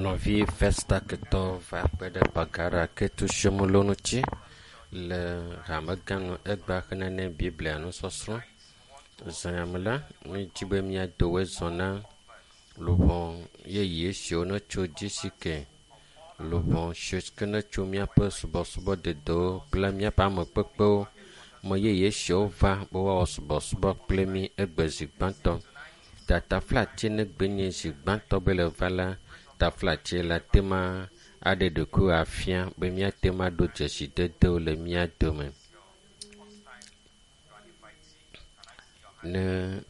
Nɔvi Festaketɔ va kpe ɖe Gbagara Ketu Shomolo ŋuti le hamegã nu egbea hena ne Biblia nusɔsrɔ̃. Zã ya me la, mídi be míado wòezɔ na luʋɔ yeye siwo netso GCK, luʋɔ siwo ke netso míaƒe subɔsubɔ dedewo kple míaƒe amekpekpewo me yeye siwo va be woawɔ subɔsubɔ kple mí egbe zi gbãtɔ. Ta taflatse negbe nye zi gbãtɔ be le va la, taflatse la te ma aɖe ɖokuiwò afia be míate ŋu aɖo dzesidedewo le mía dome. Ne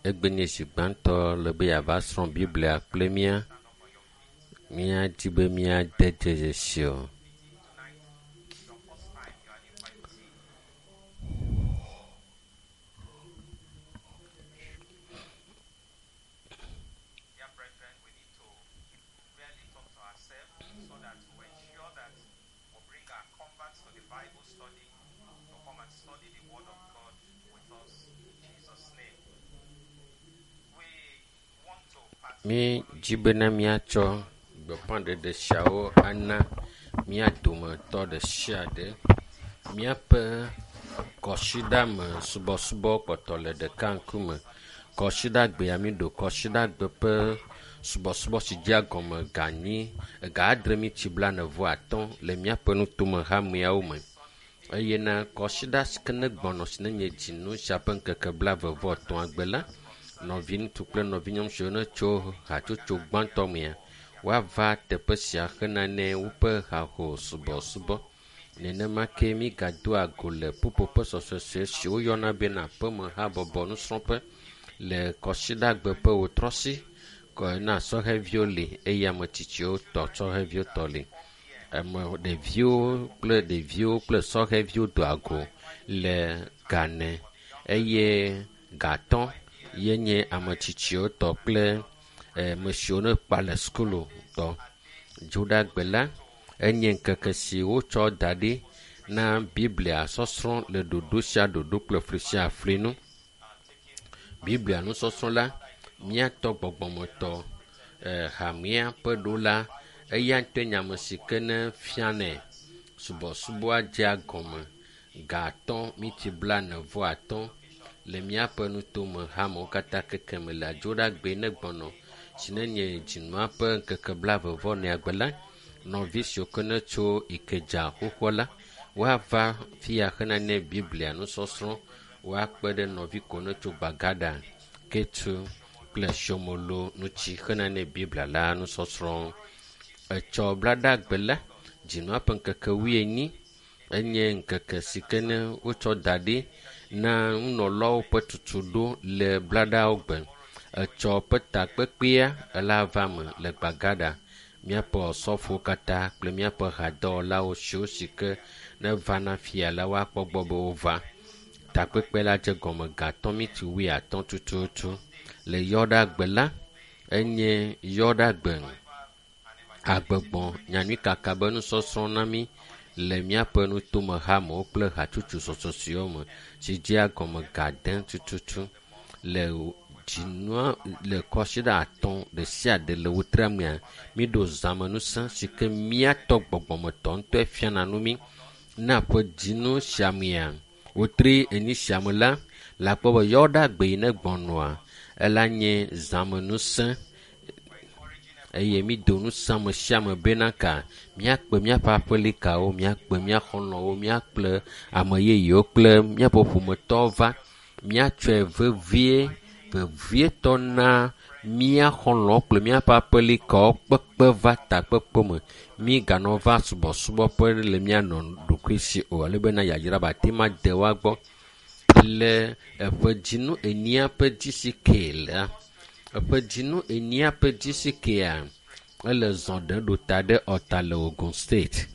egbe nye zi gbãtɔ le be yeava srɔ̃ Biblia kple mía, míadi be míade dzesi o. Dear brethren, we need to really talk to ourselves so that we ensure that we bring our converts to the Bible study to come and study the Word of God with us in Jesus' name. We want to Mídi bena míatsɔ gbeƒãɖeɖe siawo ana mía dometɔ ɖe sia ɖe. Míaƒe kɔsiɖame subɔsubɔ kpɔtɔ le ɖeka ŋkume. Kɔsiɖagbea míɖo kɔsiɖagbe ƒe subɔsubɔ si dzea gɔme ga enyi ega adre miti blaene vɔ atɔ̃ le míaƒe nutome hameawo me. Eye na kɔsiɖa si ke ne gbɔnɔ si nenye dzinu sia ƒe ŋkeke blaeve vɔ etɔ̃a gbe la, nɔviŋutsu kple nɔvinyɔnu siwo netso hatsotso gbãtɔ mea, woava teƒe sia hena ne woƒe haho subɔsubɔ. Nenema ke mígadoa go le ƒuƒoƒe sɔsɔe si woyɔna bena aƒeme habɔbɔ nusrɔ̃ƒe le kɔsiɖagbe ƒe wotrɔsi kɔ na sɔheviwo li eye ame tsitsiwo tɔ sɔheviwo tɔ li. Ame ɖeviwo kple ɖeviwo kple sɔheviwo doa go le gane eye gatɔ̃ ye nye ame tsitsiwo tɔ kple ame siwo ne kpa le sukulu tɔ. Dzoɖagbe la, enye ŋkeke si wotsɔ da ɖi na Biblia sɔsrɔ̃ le ɖoɖo sia ɖoɖo kple fli sia fli nu. Biblia nusɔsrɔ̃ la, míatɔ gbɔgbɔmetɔ hamea ƒe ɖola eya ŋutɔe nye ame si ke ne fianɛ. Subɔsubɔa dzea gɔme ga atɔ̃ miti blaene vɔ atɔ̃ le míaƒe nutome hamewo katã keke me le Adzoɖagbe ne gbɔnɔ si nenye dzinua ƒe ŋkeke blaeve vɔ enea gbe la, nɔvi siwo ke netso Ikedza xoxoa la, woava fi ya hena ne Biblia nusɔsrɔ̃ woakpe ɖe nɔvi ko netso Gbagada, Ketu kple Shomolo ŋuti hena ne Biblia la nusɔsrɔ̃. Etsɔ blaɖagbe la, dzinua ƒe ŋkeke wuienyi enye ŋkeke si ke ne wotsɔ da ɖi na nunɔlawo ƒe tutuɖo le blaɖawo gbe. Etsɔ ƒe takpekpea ela va me le Gbagada. Míaƒe osɔfowo katã kple míaƒe hadɔwɔlawo siwo si ke ne vana fia la woakpɔ gbɔ be wova. Takpekpe la dze gɔme ga atɔ̃ miti wuiatɔ̃ tututu. Le yɔɖagbe la, enye yɔɖagbe agbegbɔ nyanyuikaka be nusɔsrɔ̃ na mí le míaƒe nutome hamewo kple hatsotso sɔsɔsiwo me si dzea gɔme ga ade tututu le dzinua le kɔsiɖa atɔ̃ ɖe sia ɖe le wotrea mea, míɖo zãmenusẽ si ke míatɔ gbɔgbɔmetɔ ŋutɔe fiana nu mí. Na ƒe dzinu sia mea, wotri enyi sia me la, le akpɔ be yɔɖagbe yi ne gbɔnɔa, ela nye zãmenusẽ eye mído ŋusẽ ame sia ame bena ka míakpe míaƒe aƒelikawo, míakpe mía xɔlɔ̃wo, míakple ame yeyewo kple míaƒe ƒometɔwo va. Míatsɔe vevie, vevietɔ na mía xɔlɔ̃wo kple míaƒe aƒelikawo kpekpe va takpekpe me. Míganɔ va subɔsubɔƒe le mía nɔ ɖokui si o ale bena yayra be ate ma de woa gbɔ. Le eƒe dzinu enyia ƒe GCK la, eƒe dzinu enyia ƒe GCK-a, ele zɔ ɖe ɖo ta ɖe Ɔta le Ogun State.